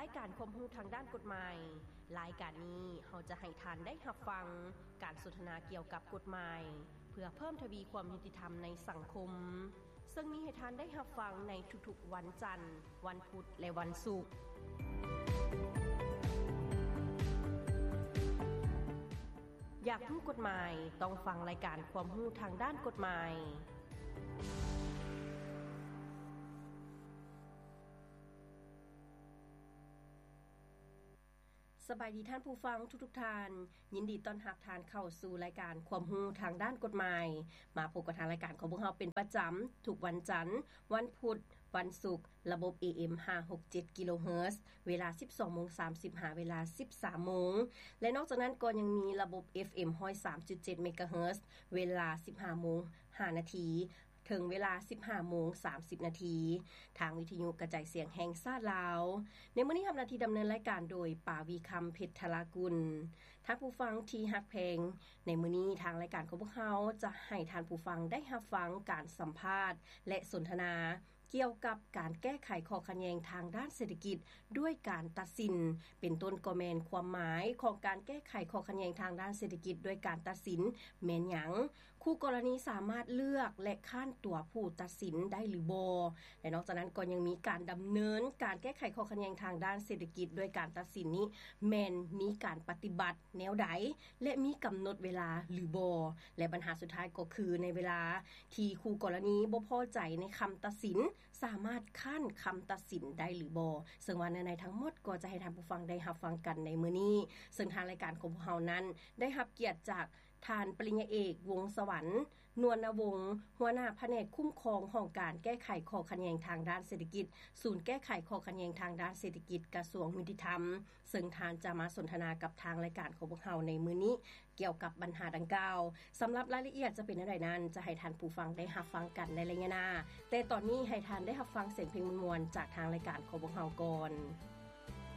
ລາຍການຄວາມຮູ້ທາງດ້ານກົດໝາຍ. ລາຍການນີ້ເຮົາຈະໃຫ້ທ່ານໄດ້ຮັບຟັງການສົນທະນາກ່ຽວກັບກົດໝາຍ ເພື່ອເພີ່ມທະວີຄວາມຍຸຕິທຳໃນສັງຄົມ, ເຊິ່ງມີໃຫ້ທ່ານໄດ້ຮັບຟັງໃນທຸກໆວັນຈັນ, ວັນພຸດ ແລະ ວັນສຸກ. ຢາກຮູ້ກົດໝາຍ? ຕ້ອງຟັງລາຍການຄວາມຮູ້ທາງດ້ານກົດໝາຍ. ສະບາຍດີທ່ານຜູ້ຟັງທຸກໆທ່ານ, ຍິນດີຕ້ອນຮັບທ່ານເຂົ້າສູ່ລາຍການຄວາມຮູ້ທາງດ້ານກົດໝາຍ. ມາພົບກັບທາງລາຍການຂອງພວກເຮົາເປັນປະຈຳທຸກວັນຈັນ, ວັນພຸດ, ວັນສຸກ, ລະບົບ ເອເອັມ ຫ້າຫົກເຈັດ ກິໂລເຮີດ, ເວລາ ສິບສອງໂມງສາມສິບ ຫາເວລາ ສິບສາມໂມງ ແລະ ນອກຈາກນັ້ນກໍຍັງມີລະບົບ ເອັຟເອັມ ຮ້ອຍສາມຈຸດເຈັດ ເມກາເຮີດ, ເວລາ ສິບຫ້າໂມງ ຫ້ານາທີ ເຖິງເວລາ ສິບຫ້າໂມງສາມສິບນາທີ ທາງວິທະຍຸກະຈາຍສຽງແຫ່ງຊາດລາວ. ໃນມື້ນີ້ຮັບໜ້າທີ່ດຳເນີນລາຍການໂດຍ ປາວີຄຳ ເພັດທະລາກຸນ. ທ່ານຜູ້ຟັງທີ່ຮັກແພງ, ໃນມື້ນີ້ທາງລາຍການຂອງພວກເຮົາຈະໃຫ້ທ່ານຜູ້ຟັງໄດ້ຮັບຟັງການສຳພາດ ແລະ ສົນທະນາ ກ່ຽວກັບການແກ້ໄຂຂໍ້ຂັດແຍ່ງທາງດ້ານເສດຖະກິດດ້ວຍການຕັດສິນ, ເປັນຕົ້ນກໍແມ່ນຄວາມໝາຍຂອງການແກ້ໄຂຂໍ້ຂັດແຍ່ງທາງດ້ານເສດຖະກິດດ້ວຍການຕັດສິນແມ່ນຫຍັງ, ຄູ່ກໍລະນີສາມາດເລືອກ ແລະ ຄ້ານຕົວຜູ້ຕັດສິນໄດ້ຫຼືບໍ່ ແລະ ນອກຈາກນັ້ນກໍຍັງມີການດຳເນີນການແກ້ໄຂຂໍ້ຂັດແຍ່ງທາງດ້ານເສດຖະກິດດ້ວຍການຕັດສິນນີ້ ແມ່ນມີການປະຕິບັດແນວໃດ ແລະ ມີກຳນົດເວລາຫຼືບໍ່ ແລະ ບັນຫາສຸດທ້າຍກໍຄື ໃນເວລາທີ່ຄູ່ກໍລະນີບໍ່ພໍໃຈໃນຄຳຕັດສິນ ສາມາດຄ້ານຄຳຕັດສິນໄດ້ຫຼືບໍ່, ເຊິ່ງວ່າເນື້ອໃນທັງໝົດກໍຈະໃຫ້ທ່ານຜູ້ຟັງໄດ້ຮັບຟັງກັນໃນມື້ນີ້, ເຊິ່ງທາງລາຍການຂອງພວກເຮົານັ້ນໄດ້ຮັບກຽດຈາກທ່ານປະລິນຍາເອກ ວົງສະຫວັນ ນວນນະວົງ, ຫົວໜ້າພະແນກຄຸ້ມຄອງຫ້ອງການແກ້ໄຂຂໍ້ຂັດແຍ່ງທາງດ້ານເສດຖະກິດ, ສູນແກ້ໄຂຂໍ້ຂັດແຍ່ງທາງດ້ານເສດຖະກິດ ກະຊວງຍຸຕິທຳ, ເຊິ່ງທ່ານຈະມາສົນທະນາກັບທາງລາຍການຂອງພວກເຮົາໃນມື້ນີ້ ກ່ຽວກັບບັນຫາດັ່ງກ່າວ. ສຳລັບລາຍລະອຽດຈະເປັນແນວໃດນັ້ນ ຈະໃຫ້ທ່ານຜູ້ຟັງໄດ້ຮັບຟັງກັນໃນໄລຍະໜ້າ, ແຕ່ຕອນນີ້ໃຫ້ທ່ານໄດ້ຮັບຟັງສຽງເພງມ່ວນໆຈາກທາງລາຍການຂອງພວກເຮົາກ່ອນ.